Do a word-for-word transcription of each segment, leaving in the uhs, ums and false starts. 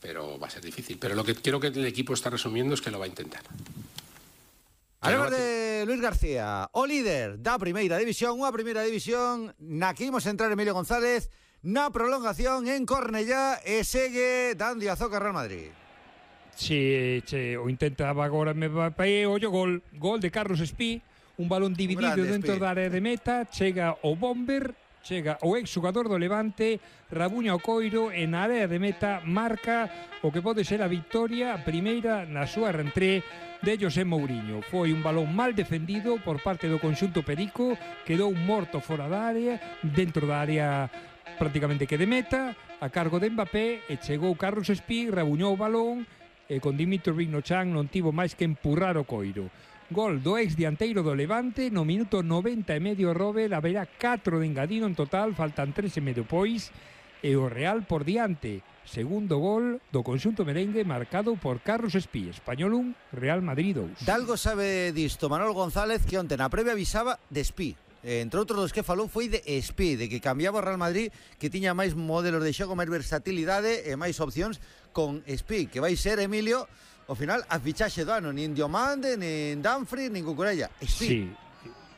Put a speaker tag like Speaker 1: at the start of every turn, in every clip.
Speaker 1: pero va a ser difícil. Pero lo que quiero que el equipo está resumiendo es que lo va a intentar.
Speaker 2: Hablamos de Luis García, o líder da primeira división, unha primeira división na que imos entrar Emilio González na prolongación en Cornellá e segue dando azoca Real Madrid.
Speaker 3: Si, che, o intentaba agora me va para aí, ollo, gol, gol de Carlos Espí, un balón dividido
Speaker 2: Grande,
Speaker 3: dentro
Speaker 2: Espí.
Speaker 3: da área de meta, chega o Bomber, chega o exjugador do Levante, rabuña o coiro e na área de meta marca o que pode ser a victoria, a primeira na súa rentré de José Mourinho. Foi un balón mal defendido por parte do conxunto perico, quedou morto fora da área, dentro da área prácticamente que de meta, a cargo de Mbappé, e chegou Carlos Espí, rabuñou o balón, e con Dimitrovic no chan non tivo máis que empurrar o coiro. Gol do ex dianteiro do Levante no minuto noventa e medio. Robert, haberá catro de engadido en total, faltan tres e medio pois, e o Real por diante. Segundo gol do conxunto merengue marcado por Carlos Espí. Español un, Real Madrid dous.
Speaker 2: Dalgo sabe disto Manolo González, que onte na previa avisaba de Espí. Entre outros dos que falou foi de Espí, de que cambiaba o Real Madrid, que tiña máis modelos de xogo, máis versatilidade e máis opcións con Espí, que vai ser, Emilio, ao final, a fichaxe do ano, nin Diomande, nin Dumfries, nin Cucurella. Espí.
Speaker 3: Sí,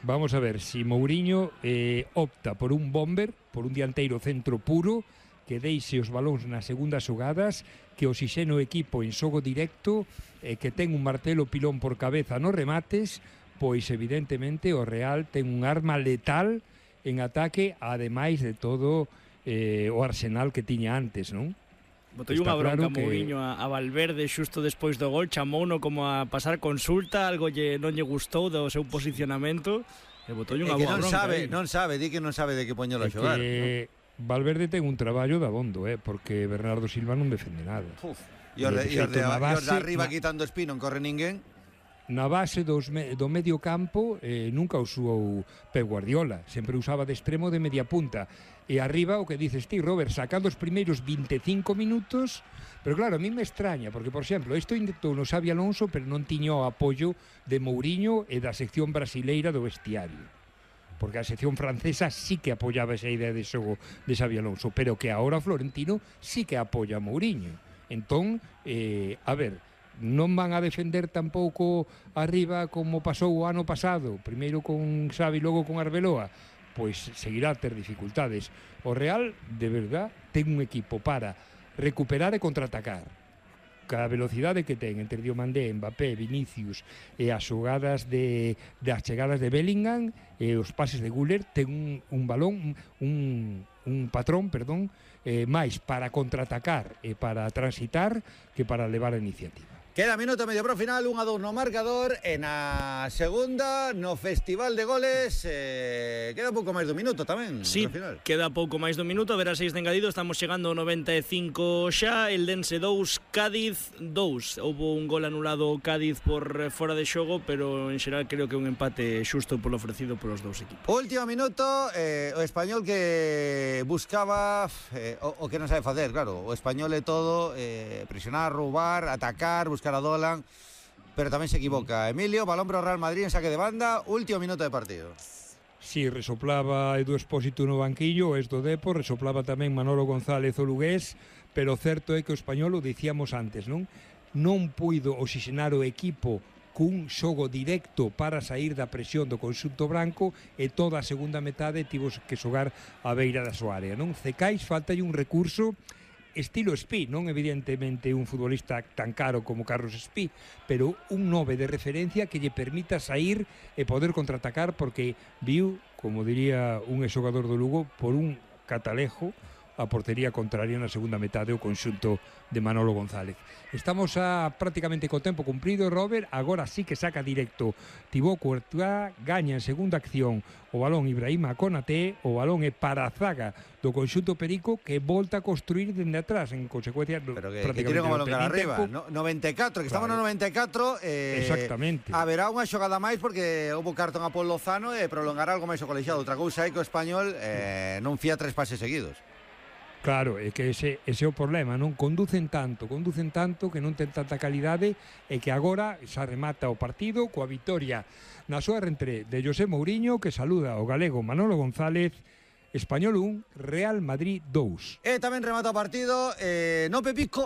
Speaker 3: vamos a ver, si Mourinho eh, opta por un Bomber, por un dianteiro centro puro, que deixe os balóns nas segundas xogadas, que oxixene o equipo en xogo directo, eh, que ten un martelo pilón por cabeza nos remates, pois evidentemente o Real ten un arma letal en ataque, ademais de todo eh, o arsenal que tiña antes, non?
Speaker 4: Botoi unha bronca claro que... Mourinho a, a Valverde xusto despois do gol, chamouno como a pasar consulta, algo lle, non lle gustou do seu posicionamento, e botoi unha boa
Speaker 2: non
Speaker 4: bronca.
Speaker 2: Sabe,
Speaker 4: aí.
Speaker 2: non sabe, di que non sabe de que poñelo a xogar.
Speaker 3: Que... ¿no? Valverde ten un traballo de abondo, eh, porque Bernardo Silva non defende nada.
Speaker 2: Uf, e os de, de, de, de, de arriba
Speaker 3: na,
Speaker 2: quitando Espí, non corre ninguén.
Speaker 3: Na base dos me, do medio campo eh, nunca usou Pep Guardiola, sempre usaba de extremo de media punta. E arriba o que dices ti, Robert, sacando os primeiros vinte e cinco minutos, pero claro, a mí me extraña, porque, por exemplo, isto intentou no Xabi Alonso, pero non tiño o apoio de Mourinho e da sección brasileira do vestiario. Porque a sección francesa sí que apoyaba esa idea de xogo de Xabi Alonso, pero que agora Florentino sí que apoia a Mourinho. Entón, eh, a ver, non van a defender tampouco arriba como pasou o ano pasado, primeiro con Xavi, logo con Arbeloa, pois seguirá a ter dificultades. O Real, de verdad, ten un equipo para recuperar e contraatacar. Cada velocidade que ten entre Diomandé, Mbappé, Vinicius e as xogadas de, de as chegadas de Bellingham e os pases de Güler, ten un, un balón, un, un patrón, perdón, eh, máis para contraatacar e para transitar que para levar a iniciativa.
Speaker 2: Queda minuto medio pro final, un a dous no marcador, e na segunda, no Festival de Goles, eh, queda pouco máis do minuto tamén.
Speaker 4: Sí, final. Queda pouco máis do minuto, a ver a seis de engadido, estamos chegando ao noventa e cinco xa, el Dense dous, Cádiz dous. Houbo un gol anulado Cádiz por fora de xogo, pero en xeral creo que un empate xusto polo ofrecido polos dous equipos.
Speaker 2: Último minuto, eh, o Español que buscaba eh, o, o que non sabe facer, claro, o Español é todo, eh, presionar, roubar, atacar, buscar a Dolan, pero tamén se equivoca. Emilio, balón para o Real Madrid en saque de banda, último minuto de partido.
Speaker 3: Si, sí, resoplaba Edu Expósito no banquillo, es do Depo, resoplaba tamén Manolo González o lugués, pero certo é que o Español, o dicíamos antes, non? Non puido oxigenar o equipo cun xogo directo para sair da presión do conxunto branco, e toda a segunda metade tivo que xogar a beira da súa área, non? Cecais faltalle un recurso estilo Espí, non evidentemente un futbolista tan caro como Carlos Espí, pero un nove de referencia que lle permita sair e poder contraatacar, porque viu, como diría un exxogador do Lugo, por un catalejo a portería contraria na segunda metade o conxunto de Manolo González. Estamos a prácticamente co tempo cumprido, Robert, agora sí que saca directo Thibaut Courtois, gaña en segunda acción o balón Ibrahima Konaté, o balón é para a zaga do conxunto perico, que volta a construir dende atrás, en consecuencia
Speaker 2: pero que, que tiren o balón cara arriba, no, noventa e catro, que claro. Estamos no noventa e catro, eh,
Speaker 3: exactamente.
Speaker 2: Haberá unha xogada máis porque houve cartón a Paul Lozano e prolongará algo máis o colexiado. Outra cousa é que o Español eh, non fía tres pases seguidos.
Speaker 3: Claro, é que ese, ese é o problema, non conducen tanto, conducen tanto que non ten tanta calidade, e que agora xa remata o partido coa vitoria na súa rentré de José Mourinho, que saluda o galego Manolo González. Español un, Real Madrid dous.
Speaker 2: E tamén remata o partido, eh, no Pepisco,